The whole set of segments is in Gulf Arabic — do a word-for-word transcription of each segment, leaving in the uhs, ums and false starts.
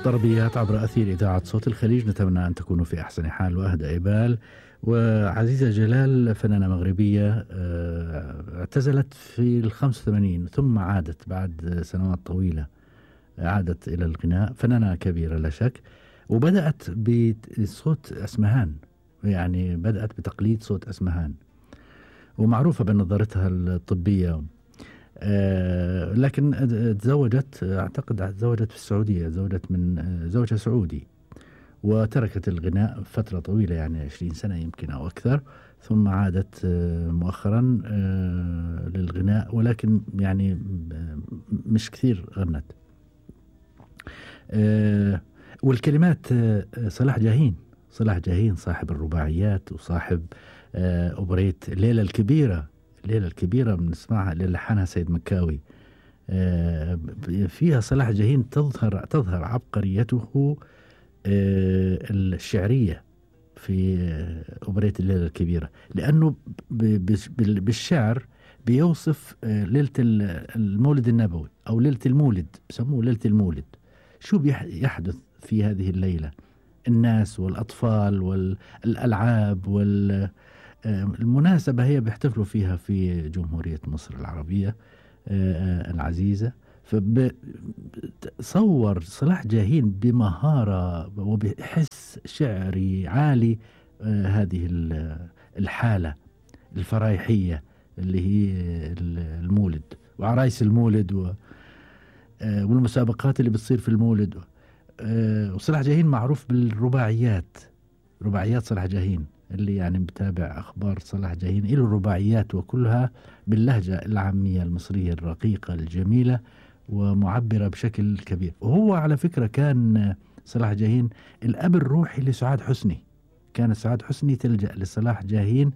طربيات عبر أثير إذاعة صوت الخليج، نتمنى أن تكونوا في أحسن حال وأهدى إبال. وعزيزة جلال فنانة مغربية اعتزلت في الخمس وثمانين ثم عادت بعد سنوات طويلة، عادت إلى الغناء، فنانة كبيرة لا شك، وبدأت بصوت أسمهان، يعني بدأت بتقليد صوت أسمهان ومعروفة بنظرتها الطبية. آه لكن تزوجت، أعتقد تزوجت في السعودية، تزوجت من زوجها سعودي، وتركت الغناء فترة طويلة يعني عشرين سنة يمكن أو أكثر، ثم عادت آه مؤخرا آه للغناء، ولكن يعني مش كثير غنت. آه والكلمات آه صلاح جاهين، صلاح جاهين صاحب الرباعيات وصاحب آه أوبريت الليلة الكبيرة، الليلة الكبيرة بنسمعها اللي لحنها سيد مكاوي. آه فيها صلاح جاهين تظهر تظهر عبقريته آه الشعرية في آه أوبريت الليلة الكبيرة، لأنه بالشعر بيوصف آه ليلة المولد النبوي أو ليلة المولد، بسموه ليلة المولد. شو بيحدث في هذه الليلة؟ الناس والأطفال والألعاب والمناسبة هي بيحتفلوا فيها في جمهورية مصر العربية العزيزة. فصور صلاح جاهين بمهارة وبحس شعري عالي هذه الحالة الفرايحية اللي هي المولد وعرايس المولد والمسابقات اللي بتصير في المولد. وصلاح جاهين معروف بالرباعيات، رباعيات صلاح جاهين اللي يعني بتابع أخبار صلاح جاهين له رباعيات، وكلها باللهجة العامية المصرية الرقيقة الجميلة ومعبرة بشكل كبير. وهو على فكرة كان صلاح جاهين الأب الروحي لسعاد حسني، كان سعاد حسني تلجأ لصلاح جاهين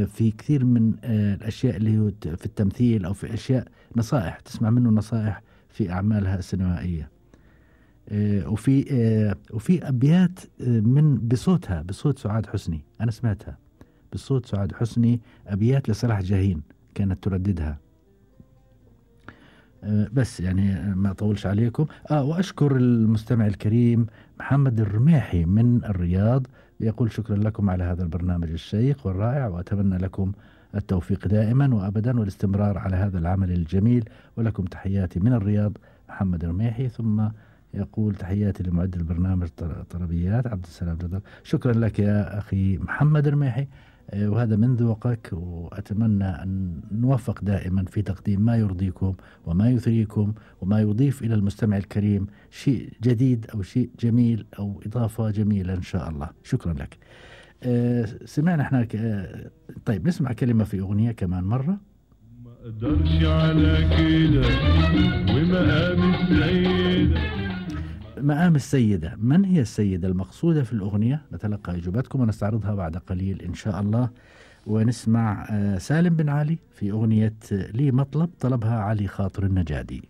في كثير من الأشياء اللي هو في التمثيل أو في أشياء نصائح، تسمع منه نصائح في أعمالها السينمائية. وفي وفي أبيات من بصوتها، بصوت سعاد حسني، أنا سمعتها بصوت سعاد حسني، أبيات لصلاح جاهين كانت ترددها. بس يعني ما أطولش عليكم. آه وأشكر المستمع الكريم محمد الرميحي من الرياض، يقول شكرا لكم على هذا البرنامج الشيق والرائع، وأتمنى لكم التوفيق دائما وأبدا والاستمرار على هذا العمل الجميل، ولكم تحياتي من الرياض محمد الرميحي. ثم يقول تحياتي لمعد البرنامج طربيات عبد السلام جدل. شكرا لك يا أخي محمد الرميحي، وهذا من ذوقك، وأتمنى أن نوفق دائما في تقديم ما يرضيكم وما يثريكم وما يضيف إلى المستمع الكريم شيء جديد أو شيء جميل أو إضافة جميلة إن شاء الله. شكرا لك. أه سمعنا احنا أه طيب نسمع كلمة في أغنية كمان مرة. ما أقدرش على كده ومقام السيدة. مقام السيدة، من هي السيدة المقصودة في الأغنية؟ نتلقى إجاباتكم ونستعرضها بعد قليل إن شاء الله. ونسمع سالم بن علي في أغنية لي مطلب طلبها علي خاطر النجادي.